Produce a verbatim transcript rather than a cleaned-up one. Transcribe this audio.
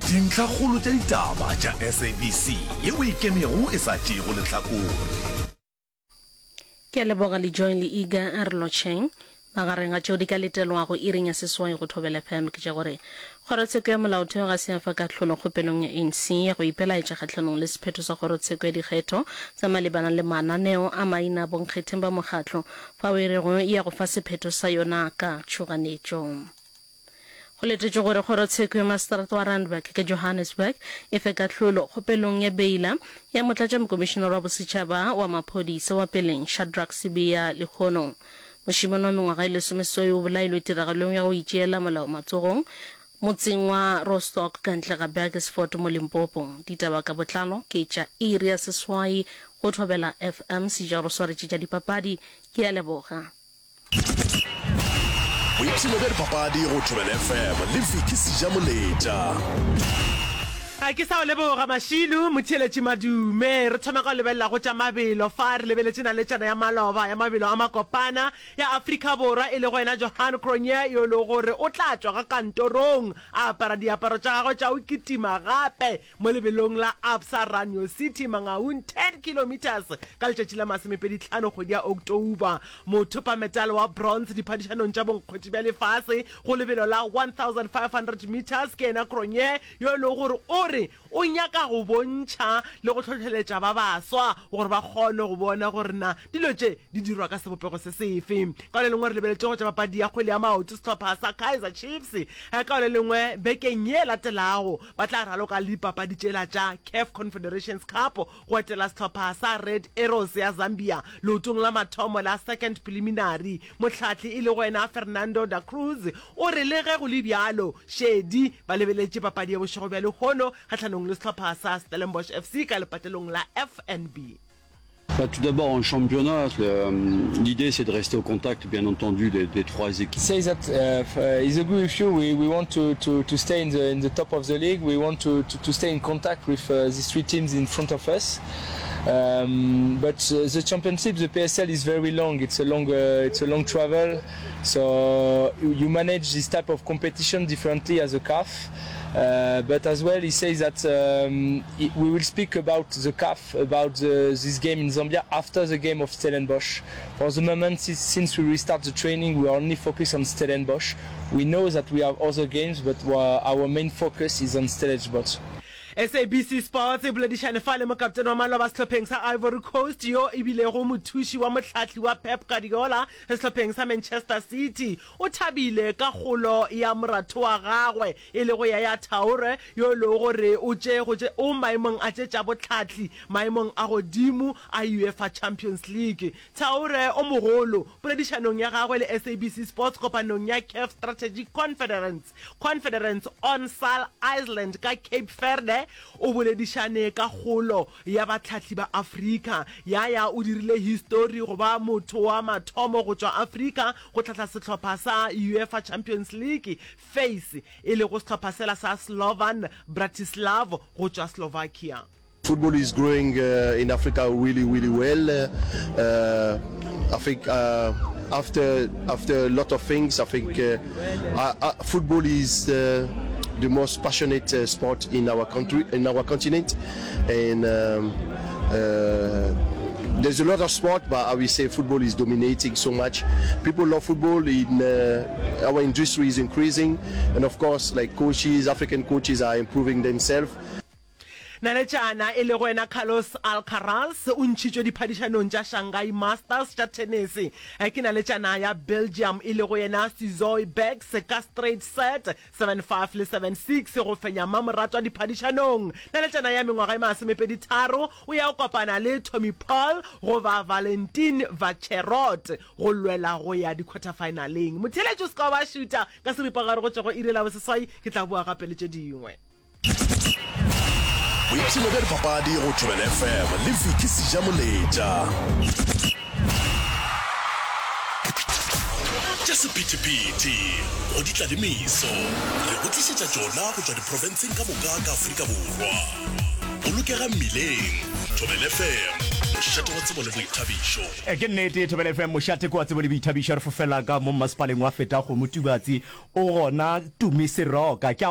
Dintlhakgolo tša ditaba tša S A B C yeo e ikemego e sa tšeego lehlakore. Ke a leboga Lejoy le Iga a re lotšheng. Magareng ga tšeo di ka letelwago iring ya seswai go Thobela F M ke tša gore Kgorotsheko ya Molaotheo ga se ya fa kahlolo kgopelong ya A N C ya go ipelaetša kgahlanong le sephetho sa Kgorotsheko ya Dikgetho sa malebana le mananeo a maina a bonkgetheng ba mokgatlo fao e rego e ya go fa sephetho sa yona ka tšhoganetšo. Go letetšwe gore Kgorotsheko ya Maseterata wa Randburg ka Johannesburg e fe kahlolo kgopelong ya beila ya Motlatšamokomišenare wa Bosetšhaba wa Maphodisa wa peleng Shadrack Sibiya lehono. Mošemane wa mengwaga e lesomeseswai o bolailwe tiragalong ya go itšeela molao matsogong motseng wa Rostock ka ntle ga Burgersfort mo Limpopo. Ditaba ka botlalo ke tša iri ya seswai go Thobela F M. Sejaro swaretše tša dipapadi. Ke a leboga. Boipshino bja dipapadi go Thobela F M le Vicky Sejamoletša. A ke sa o leboga Mašilu motheeletši madume. Re thoma ka go lebelela go tša mabelo fa re lebeletše naletšana ya maloba ya mabelo a makopana ya Afrika Borwa e lego yena Johan Cronje yo e lego gore o tla tšwa ga kantorong a apara diaparo tša gagwe tša go kitima gape mo lebelong la Absa Run Your City Mangaung ten kilometres ka letšatši la masomepedi tlhano kgwedi ya October. Mothopametale wa bronze diphadišanong tša bonkgwetši bja lefase go lebelo la one thousand five hundred meters ke yena Cronje yo e lego gore o re o nyaka go bontšha le go hlohleletša ba baswa gore ba kgone go bona gore na dilo tše di dirwa ka sebopego se sefe. Ka le lengwe re lebeletše go tša papadi ya kgwele ya maoto, sehlopha sa Kaizer Chiefs ka le lengwe bekeng ye latelago ba tla raloka le dipapadi tšela tša CAF Confederations Cup go etela sehlopha sa Red Arrows ya Zambia leotong la mathomo la second preliminary. Mohlahli e lego yena Fernando da Cruz o re le ge go le bjalo šedi ba lebeletše papadi ya bošego bja lehono kgahlanong le sehlopha sa Stellenbosch F C ka lepatlelong la F N B. Bah, tout d'abord, en championnat, l'idée c'est de rester au contact, bien entendu, des, des trois équipes. Say that uh, uh, he's agree with you. We, we want to, to, to stay in the in the top of the league. We want to, to, to stay in contact with uh, these three teams in front of us. Um, but uh, the championship, the P S L is very long. It's a long, uh, it's a long travel. So you manage this type of competition differently as a CAF. Uh, but as well, he says that um, we will speak about the CAF, about the, this game in Zambia after the game of Stellenbosch. For the moment, since we restart the training, we are only focused on Stellenbosch. We know that we have other games, but our main focus is on Stellenbosch. S A B C Sports e boledišane fa le mokaptene wa maloba sehlopheng sa Ivory Coast yo e bilego mothuši wa mohlahli wa Pep Guardiola sehlopheng sa Manchester City. O thabile ka kgolo ya moratho wa gagwe e lego Yaya Toure yo e lego gore o tše go tše o maemong a tše tša bohlahli maemong a godimo a UEFA Champions League. Toure o mogolo poledišanong ya gagwe le S A B C Sports kopanong ya CAF Strategic Conference Conference on Sal Island ka Cape Verde o boledišane ka kgolo ya bahlahli ba Afrika. Yaya o dirile histori go ba motho wa mathomo go tšwa Afrika go hlahla sehlopha sa UEFA Champions League phase e lego sehlopha sela sa Slovan Bratislava go tšwa Slovakia. Football is growing uh, in Africa really, really well. Uh, I think uh, after after a lot of things, I think uh, uh, football is uh, the most passionate uh, sport in our country, in our continent, and um, uh, there's a lot of sport, but I will say football is dominating so much. People love football. In uh, our industry is increasing, and of course, like coaches, African coaches are improving themselves. Naletšana e lego yena Carlos Alcaraz o ntšhitšwe diphadišanong tša Shanghai Masters tša tennis ke naletšana ya Belgium e lego yena Zizou Bergs ka straight set seven five le seven six go fenya mamoratwa diphadišanong. Naletšana ya mengwaga e masomepedi tharo o ya go kopana le Tommy Paul goba Valentin Vacherot go lwela go ya di-quarterfinaleng. Motheeletši o se ka wa šuta ka seripagare go tšwa go iri la boseswai, ke tla boa gape le tše dingwe. Boipshino bja dipapadi go Thobela F M le Vicky Sejamoletša. Tša sephethephethe go di tla le meso re go tlišetša tšona go tšwa diprofenseng ka moka ka Afrika Borwa. Bolokega mmileng. Thobela F M, mošate wa tsebo le boithabišo. Ke nnete, Thobela F M, mošate ke wa tsebo le boithabišo. Re fofela ka mo mmasepaleng wa Fetakgomo Tubatse, o gona Tumi Seroka. Ke a